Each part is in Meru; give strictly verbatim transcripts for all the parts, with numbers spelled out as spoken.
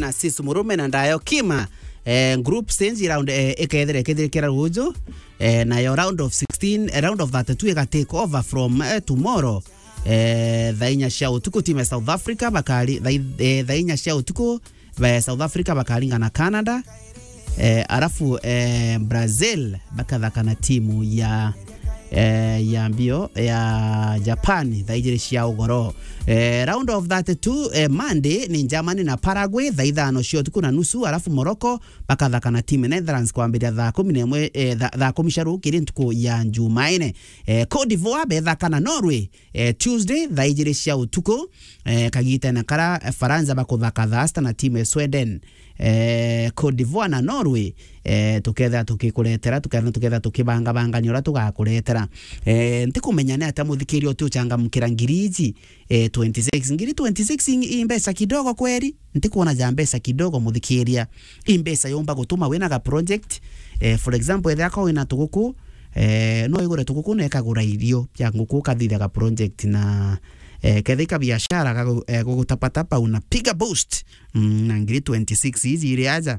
na Sis Murume na Ndayo Kima. Eh, group stage round, eh, ikethira ikithirikira ruju. Eh, nayo round of sixteen, eh, round of thirty-two iga take over from, eh, tomorrow. Eh, thaa inya cia utuku, timu ya South Africa bakari-, thaa i-, eh, thaa inya cia utuku, ba-, South Africa bakaringa na Canada. Eh, arafu, eh, Brazil bakathaka na timu ya, eh, ya mbio ya Japan thaa ijiri cia ugoro. Eh, round of thirty-two, eh, Monday ni Germany na Paraguay thaa ithano cia utuku na nusu, arafu Morocco bakathaka na timu ya Netherlands kwambiria thaa kumi na imwe, eh, tha-, thaa kumi cia rukiri ntuku ya Jumaine. Eh, Cote d'Ivoire bethaka na Norway, eh, Tuesday thaa ijiri cia utuku, eh, kagitene kara, eh, Faransa bakuthaka thaa sita na timu ya Sweden. Eh, Cote d'Ivoire na Norway, eh, tukethira tukikuretera, tukethira tukethira tukibangabangania uria tugakuretera. Eh, ntikumenya ni atia muthikiria uti uchangamukira ngiri iji, eh, twenty-six. Ngiri twenty-six i, i mbeca kidogo kweri? Ntikuona ja mbeca kidogo, muthikiria. I mbeca yumba gutuma wina ga project. Eh, for example, ethira ko wina tuguku, eh, no igure tuguku na ikagura irio bia nguku, ukathithia ga project na, eh, kethika biashara gagu-, eh, gugutapatapa, unapiga boost. Mm, na ngiri twenty-six iji iri aja.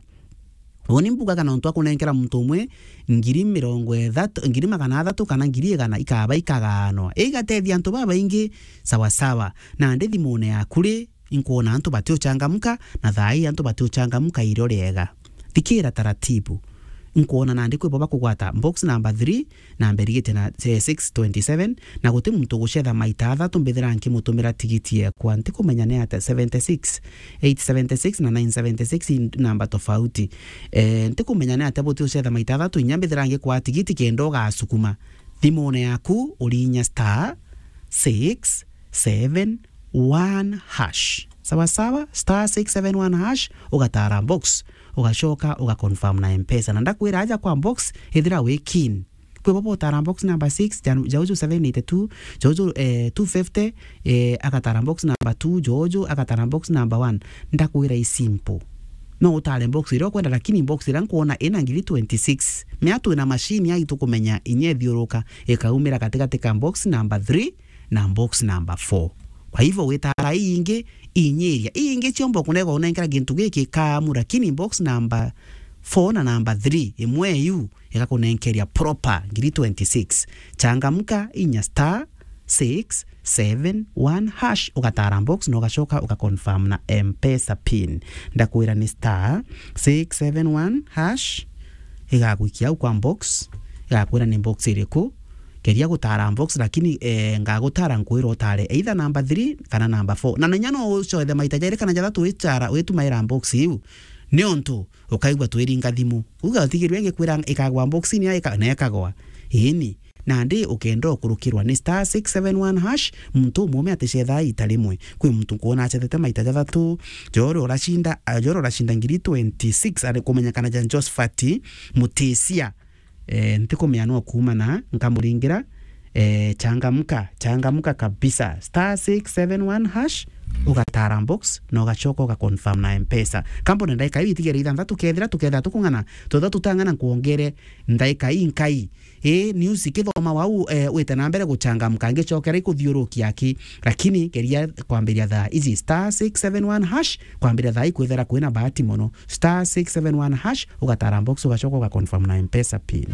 Uni mbugaga na untu akunenkera muntu umwe ngiri mirongo ithatu, ngiri magana athatu kana ngiri igana ikaba ikagaanwa. Igatethia antu babaingi sawa sawa. Nandi thimune yaku ri, inkwona antu batiuchangamka, na thaa ii antu batiuchangamka irio riega. Thikira taratibu. Inkwona nandi kwi bo bakugwata box number three, namba irigite na, eh, six twenty-seven, na guti muntu ugucetha maita athatu mbithira nkimutumira tigiti yekwa. Ntikumenya ni atia, seventy-six, eight seventy-six na nine seventy-six i namba tofauti. Eh, ntikumenya ni atia buti ucetha maita athatu, inya mbithira ngikwaa tigiti kenda ugasukuma. Thimune yaku urinya star six seven one hash. Sawa sawa, star six seven one hash, ugatara box, ugacoka ugaconfirm na Mpesa. Na ndakwira aja kwa box, ithira wi keen. Kwi bo botara box number six, ja-, jauju seven eighty-two, jauju, eh, two fifty, eh, agatara box number two, jauju agatara box number one. Ndakwira i simple. No utare box iria ukwenda, lakini box iria nkwona ina ngiri twenty-six. Mea twina machine ai tukumenya inya ithiuruka, ikaumira gatigati ka box number three na box number four. Kwa hivyo witara ii ingi, inyiria. Ii ingi ciomba kunegwa unenkera gintu giki kamu, lakini box number four na number three, imwe iu igakunenkeria proper ngiri twenty-six. Changamka, inya star six seven one hash, ugatara box na ugacoka ugaconfirm na Mpesa pin. Ndakwira ni star six seven one hash, igagwikia au kwa box, igakwira ni box iriku. Keria gutara box, lakini, eh, ngagutara nkwira utare either number three kana number four. Na inya no ucothe maita jairi kana jathatu witara, witumaira box iu. Niuntu ukaigua twiringa thimu. Uga utigirwe ngikwira ikagwa box-ini ya ika-, na ikagwa. Ini, nandi ukenda ukurukirwa ni star six seven one hash, muntu umume aticethaa ita rimwe. Kwi muntu nkwona acethete maita jathatu, jori uracinda, ah, jori uracinda ngiri twenty-six, ari kumenyekana ja Josphat Mutisia. Eh, ntikumenya no kuumana, nkamuringira, eh, changamka, changamka kabisa. Star six seven one hash, ugatara box, na ugacoka ugaconfirm na Mpesa. Kambone ndaika iu itigere ithanthatu, kethira tukethira tukung'ana, twethira tutang'ana nkwongere ndaika inkai. Ii, news ikithoma wau, eh, wite na mbere guchangamka, ngicokera ikuthiurukia aki. Lakini geria kwambiria thaa iji, star six seven one hash, kwambiria thaa ikwithira kwina bahati mono. Star six seven one hash, ugatara box, ugacoka ugaconfirm na Mpesa pin.